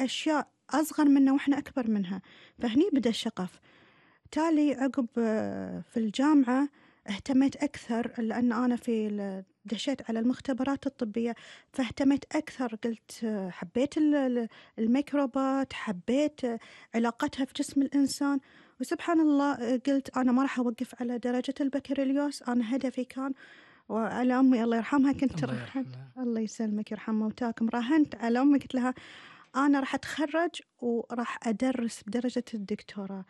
أشياء أصغر منا وإحنا أكبر منها. فهني بدأ الشغف. تالي عقب في الجامعة اهتميت أكثر، لأن أنا دشيت على المختبرات الطبية، فاهتميت أكثر. قلت حبيت الميكروبات، حبيت علاقتها في جسم الإنسان. وسبحان الله قلت أنا ما راح أوقف على درجة البكالوريوس. أنا هدفي كان، وعلى أمي الله يرحمها كنت الله يرحمها. الله يسلمك يرحم موتاكم، راهنت على أمي قلت لها أنا راح أتخرج وراح أدرس بدرجة الدكتوراه.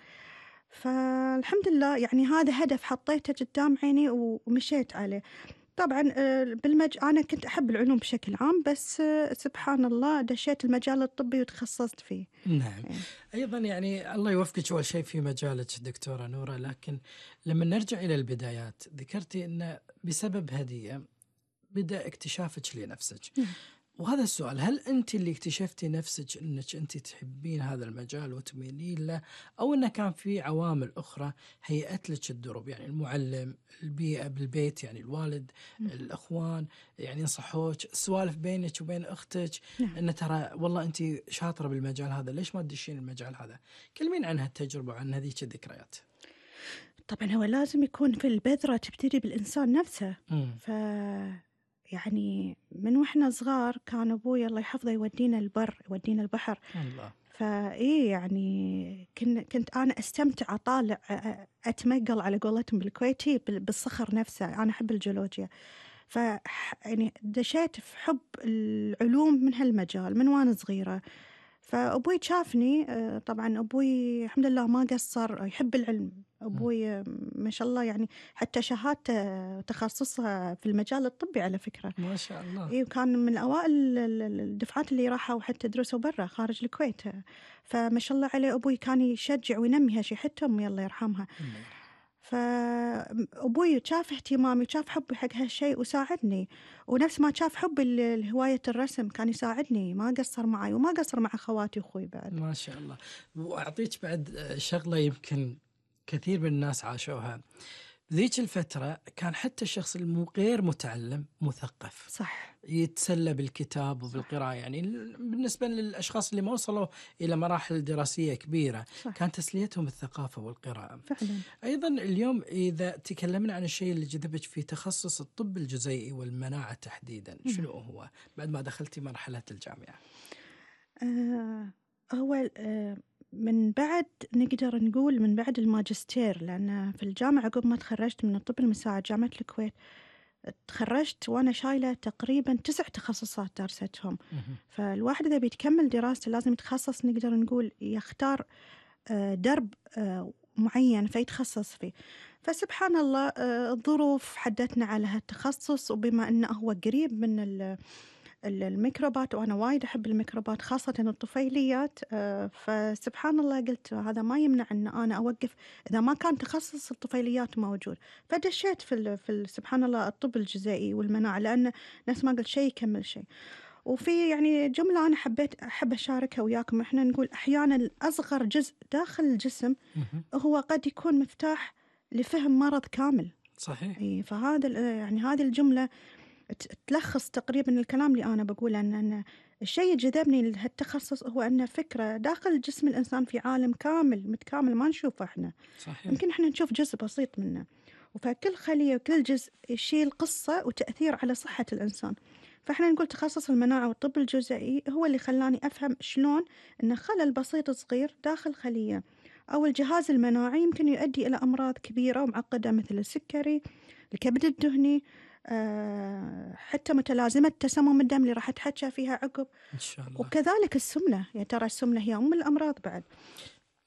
فالحمد لله يعني هذا هدف حطيته قدام عيني ومشيت عليه. طبعا أنا كنت أحب العلوم بشكل عام، بس سبحان الله دشيت المجال الطبي وتخصصت فيه. نعم. أيضا يعني الله يوفقك أول شيء في مجالك دكتورة نورة، لكن لما نرجع إلى البدايات ذكرتي أن بسبب هدية بدأ اكتشافك لنفسك. وهذا السؤال، هل أنت اللي اكتشفتي نفسك أنك أنت تحبين هذا المجال وتميلين له، أو أنه كان في عوامل أخرى هيئت لك الدروب، يعني المعلم، البيئة بالبيت، يعني الوالد، الأخوان يعني نصحوك، السوالف بينك وبين أختك أن ترى والله أنت شاطرة بالمجال هذا، ليش ما تدشين المجال هذا؟ كلمين عن هالتجربة وعن هذيك الذكريات. طبعا هو لازم يكون في البذرة تبتدي بالإنسان نفسه. يعني من وإحنا صغار كان أبوي الله يحفظه يودينا البر، يودينا البحر. الله. فإيه يعني كنت أنا أستمتع أطالع، أتمقل على قولتهم بالكويتي بالصخر نفسه. أنا أحب الجيولوجيا، يعني دشيت في حب العلوم من هالمجال من وأنا صغيرة. فأبوي شافني، طبعا أبوي الحمد لله ما قصر، يحب العلم. أبوي ما شاء الله يعني حتى شهادته تخصصها في المجال الطبي على فكرة. ما شاء الله. إيه، وكان من أوائل الدفعات اللي راحوا حتى درسوا برا خارج الكويت. فما شاء الله عليه أبوي كان يشجع وينمي هالشي، حتى أمي الله يرحمها. فأبوي شاف اهتمامي، شاف حبي حق هالشيء وساعدني، ونفس ما شاف حبي لهواية الرسم كان يساعدني، ما قصر معي وما قصر مع خواتي وأخوي بعد. ما شاء الله. وأعطيك بعد شغلة يمكن كثير من الناس عاشوها ذيك الفترة، كان حتى الشخص غير متعلم مثقف صح، يتسلى بالكتاب وبالقراءة. يعني بالنسبة للأشخاص اللي ما وصلوا إلى مراحل دراسية كبيرة صح. كان تسليتهم الثقافة والقراءة فعلا. أيضا. اليوم إذا تكلمنا عن الشيء اللي جذبك في تخصص الطب الجزيئي والمناعة تحديدا، شنو هو بعد ما دخلتي مرحلة الجامعة؟ هو من بعد نقدر نقول من بعد الماجستير، لأن في الجامعة عقب ما تخرجت من الطب المساعد جامعة الكويت، تخرجت وأنا شايلة تقريبا 9 تخصصات درستهم. فالواحد إذا بيتكمل دراسته لازم يتخصص، نقدر نقول يختار درب معين فيتخصص فيه. فسبحان الله الظروف حدتنا على هالتخصص، وبما أنه هو قريب من الميكروبات، وأنا وايد أحب الميكروبات خاصة الطفيليات، فسبحان الله قلت هذا ما يمنع أن أنا أوقف إذا ما كان تخصص الطفيليات موجود. فدشيت في سبحان الله الطب الجزيئي والمناعة، لأن نفس ما قلت شيء يكمل شيء. وفي يعني جملة أنا أحب أشاركها وياكم. إحنا نقول أحيانا أصغر جزء داخل الجسم هو قد يكون مفتاح لفهم مرض كامل. صحيح. فهذا يعني هذه الجملة تلخص تقريبا الكلام اللي أنا بقوله، أن الشيء جذبني لهالتخصص هو أن فكرة داخل جسم الإنسان في عالم كامل متكامل ما نشوفه إحنا. صحيح. يمكن إحنا نشوف جزء بسيط منه، وفكل خلية وكل جزء يشيل قصة وتأثير على صحة الإنسان. فإحنا نقول تخصص المناعة والطب الجزيئي هو اللي خلاني أفهم شلون أن خلل بسيط صغير داخل خلية أو الجهاز المناعي يمكن يؤدي إلى أمراض كبيرة ومعقدة مثل السكري، الكبد الدهني، حتى متلازمة تسمم الدم اللي راح أتحكى فيها عقب إن شاء الله. وكذلك السمنة، يا ترى السمنة هي أم الأمراض بعد.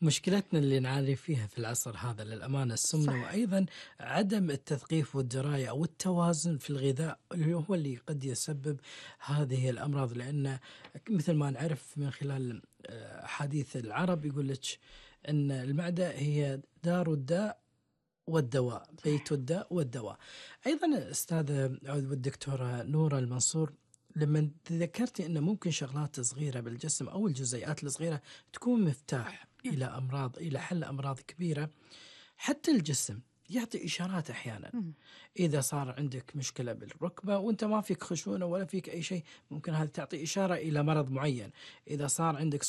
مشكلتنا اللي نعاني فيها في العصر هذا للأمانة السمنة. صح. وأيضا عدم التثقيف والدراية أو التوازن في الغذاء اللي هو اللي قد يسبب هذه الأمراض. لأن مثل ما نعرف من خلال حديث العرب يقول لك أن المعدة هي دار الداء والدواء، بيت الداء والدواء. أيضا أستاذة والدكتورة نورة المنصور، لما ذكرتي أن ممكن شغلات صغيرة بالجسم أو الجزيئات الصغيرة تكون مفتاح إلى أمراض، إلى حل أمراض كبيرة، حتى الجسم يعطي إشارات أحيانا. إذا صار عندك مشكلة بالركبة وأنت ما فيك خشونة ولا فيك أي شيء، ممكن هذا تعطي إشارة إلى مرض معين. إذا صار عندك